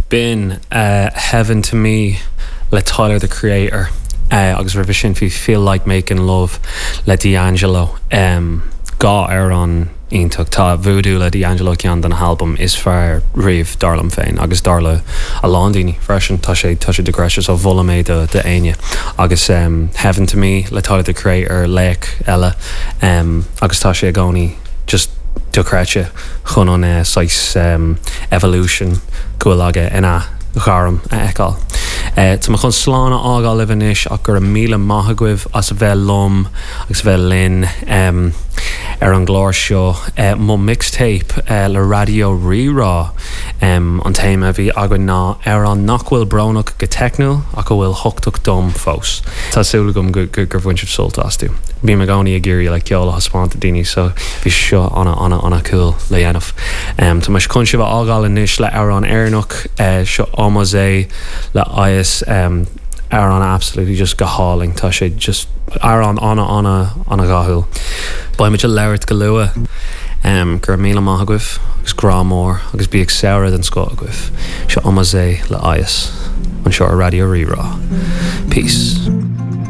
B'in Heaven to Me le Tyler the Creator agus roimhe sin bhí Feel Like Making Love le D'Angelo. 2 amhrán iontach. Tá Voodoo le D'Angelo ceann de na halbaim is fearr riamh dar liom féin agus dar le a lán daoine freisin. Tá sé tá sé dochreidte so mholaim é do d'éinne. Agus Heaven to Me le Tyler the Creator laoch eile agus tá sé i gcónaí just dochreidte chun an saghas evolution go bhfuil aige ina ghairm a fheiceáil. Tá mé chun slán a fhágáil libh anois ach go raibh míle maith agaibh as a bheith liom agus a bheith linn ar an gclár seo. Mo mixtape le Raidió Rí-Rá. An téama a bhí againn ná amhrán nach bhfuil brónach go teicniúil ach a bhfuil cumhachtach dom fós. Tá súil agam gur bhain sibh sult astu. Bím i gcónaí ag iarraidh like ceol a thaispeáint do daoine so bhí seo ana ana ana cool le dhéanamh. Tá mé chun sibh a fhágáil anois le amhrán Éireannach, seo Omozé le IS. Amhrán absolutely just go hálainn. Tá sé just amhrán ana ana ana dhathúil. Beidh muid ag labhairt go luath. Go raibh míle maith agaibh agus grá mór agus bíodh samhradh den scoth agaibh. Seo Omozé le IS anseo ar Raidió Rí-Rá. Peace.